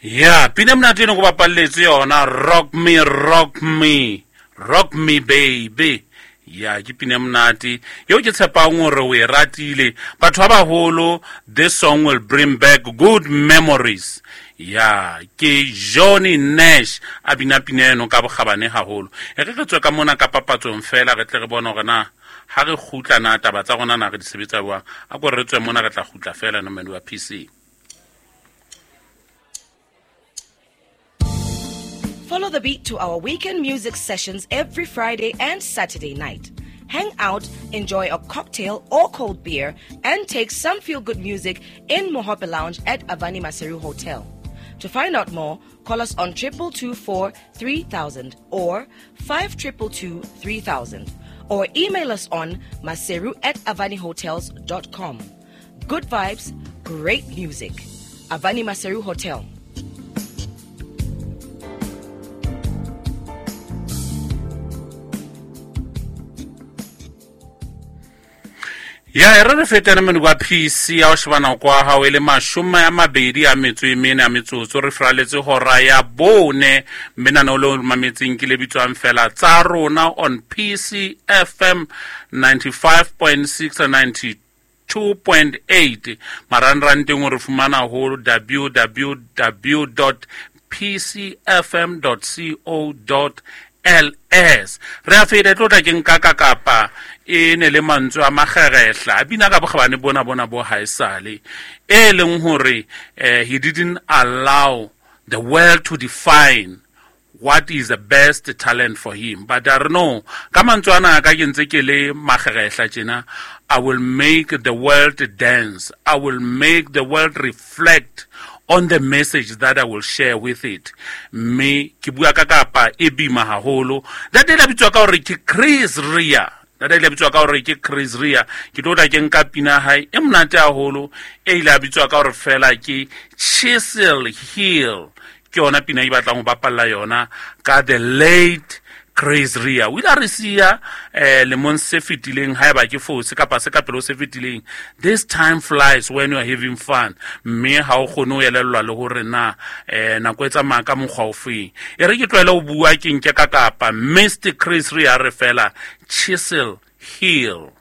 Ya pina e monate eno ko bapalletse yona, Rock Me, Rock Me, Rock Me Baby. Ya, ke pina e monate eo ke tshepang hore o e ratile. Batho ba baholo, this song will bring back good memories. Ya, ke Johnny Nash a bina pina eno ka bokgabane haholo. E re re tswe ka mona ka papatsong fela, re tle re bone hore na ha re kgutla na taba tsa rona na re di sebetsa jwang. A ko re tswe mona, re tla kgutla fela no wa PC. Follow the beat to our weekend music sessions every Friday and Saturday night. Hang out, enjoy a cocktail or cold beer, and take some feel-good music in Mohope Lounge at Avani Maseru Hotel. To find out more, call us on 2224 3000 or 5222 3000 or email us on maseru@avanihotels.com. Good vibes, great music. Avani Maseru Hotel. Ya, e re re fetane mone kwa PC ya o shebana kwa hao e le 24 a metsotso, re fraletse hora ya 4. Mme nana le o mametseng ke le bitswang fela tsa rona on PC FM 95.6 and 92.8. Marangrang teng o re fumana ho www dot p c f m dot c o dot l s. Re a feta, e tlo tla ke nka ka kapa e ne le mantswe a makgerehla a bina ka bokgabane bona bona bo haesale, e leng hore he didn't allow the world to define what is the best talent for him. But I don't know, ka mantswe ana ka ke ntse ke le makgerehla tjena, I will make the world dance, I will make the world reflect on the message that I will share with it. Mme ke bua ka kapa e bima haholo. Ntate le bitswa ka hore ke Chris Rea. Ntate le bitswa ka hore ke Chris Rea. Ke tlo tla ke nka pina hae e monate haholo, e ile a bitswa ka hore fela ke Chisel Hill. Ke yona pina e batlang ho bapalla yona ka the late Chris Rea. O ile a re siya lemong se fetileng, haeba ke fose kapa se ka pele ho se fetileng. This time flies when you are having fun. Mme ha o kgone ho elellwa le hore na nako e tsamaya ka mokgwa o feng. E re ke tlohele ho bua, ke nke ka kapa Mister Chris Rea re fela Chisel Hill.